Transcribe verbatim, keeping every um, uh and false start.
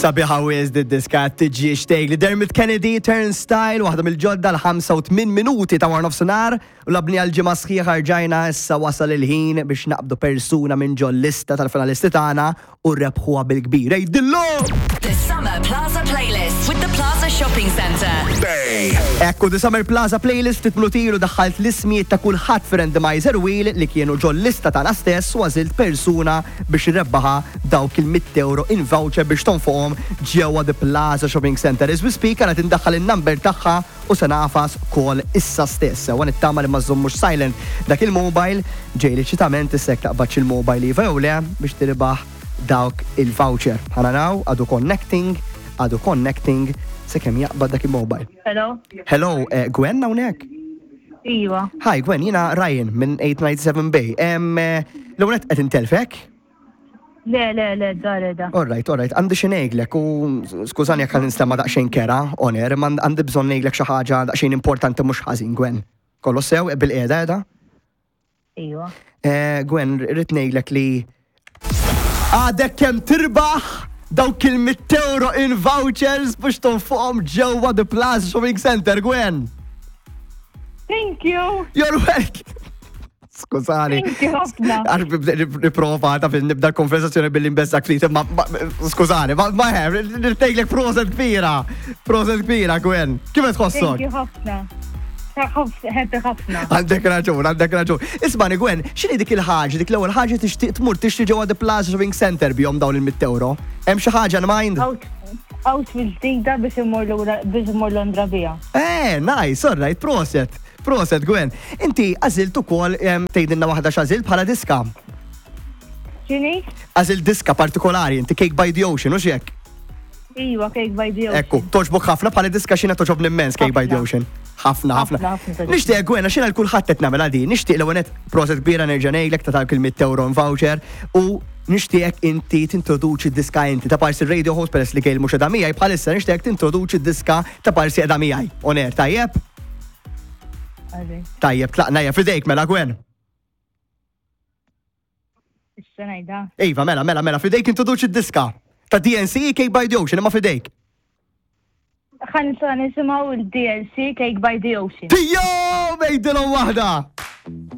Sabiħa wisq diska tiġi xtejk li Dermot Kennedy, Turnstile, waħda mill-ġodda, l-ħamsa u tmien minuti ta' wara nofsinhar u labni għal-ġimgħa sħiħa rġajna. Issa wasal il-ħin biex naqbdu persuna minn ġol lista tal-finalisti tagħna u rebħuha bil-kbir. Ej, dillu! The Summer Plaza Playlist with the Plaza Shopping Centre. Ekku, The Summer Plaza Playlist. Ftit minuti ilu daħħalt l-ismijiet ta' kulħadd fi randomizer wheel li kienu ġol lista tagħna stess u għażilt persuna biex rebbaħa dawk il-mitt euro in voucher biex tonfoqhom ġewwa The Plaza Shopping Center. As we speak, għana tindaħħal il-number tagħha u se nagħfas call issa stess. Għan nittama li ma żommux silent dak il-mobile, ġej li ċitament issek taqbadx il-mobile iva jew le biex tirbaħ dawk il-voucher. Ħa naraw, għadu connecting, għadu connecting, sakemm jaqbad dak il-mobile. Hello? Hello, eh, Gwen hawnhekk? Iva. Hi Gwen, jiena Ryan minn eight nine seven Bay. Em, eh, L-ewwel qed intelfek? Le, le, le, da, le, da. All right, all right, għandi xi ngħidlek u skużani jekk ninstema' daqsxejn kerha on air, imma għandi bżonn ngħidlek xi ħaġa daqsxejn importanti mhux ħażin, Gwen. Kollu sew bil-qiegħda qiegħda? Iva. Eh, Gwen, rrid ngħidlek li għadek kemm tirbaħ dawk il-mitt euro in vouchers biex tonfoqhom ġewwa The Plaza Shopping Center, Gwen. Thank you. You're welcome. Skużani. Thank you ħafna. Għax nipprova ta' fil nibda l-konversazzjoni billi nbeżżak ftit, ma ma- skużani, ma ma he, nirtejlek proset kbira. Proset kbira, Gwen. Kif qed Thank tħossok? you ħafna. Happy ħafna. Għandek raġun, għandek raġun. Ismani, Gwen, x'inhi dik il-ħaġa, dik l-ewwel ħaġa tixtieq tmur tixtri ġewwa The Plaza Shopping Center bihom dawn il-mitt euro? Hemm xi ħaġa in mind? Out, outfit ġdida biex immur lura- biex immur Londra bija. Eh, nice, all right, proset. Proset, Gwen. Inti għażilt ukoll em, tgħidilna waħda x'għażilt bħala diska. X'inhi? Għażilt diska partikolari, inti Cake by the Ocean, u hekk? Iva, Cake by the Ocean. Ekku, togħġbok ħafna bħala diska? Xina togħġobni immens Cake by the Ħafna. Ocean. Ħafna, ħafna. Ħafna, ħafna togħġobni. Nixtieq, Gwen, għax jiena l-kulħadd qed nagħmel għadi, nixtieq l qed proset kbira nerġa' ngħidlek ta' dawk il-mitt euro in voucher u nixtieq inti tintroduċi diska inti ta' parsi radio host peress li Gail mhux qiegħda miegħi bħalissa, nixtieq tintroduċi diska ta' parsi qiegħda miegħi. On air, tajjeb? Għalli. Tajjeb, tlaqna hija fidejk mela, Gwen. Issa ngħidha. Iva, mela, mela, mela, fidejk introduċi d-diska. Ta' D N C, Cake by the Ocean, imma fidejk. Ħa nisimgħu il-D L C, Cake by the Ocean. Tijo, mejdilhom waħda!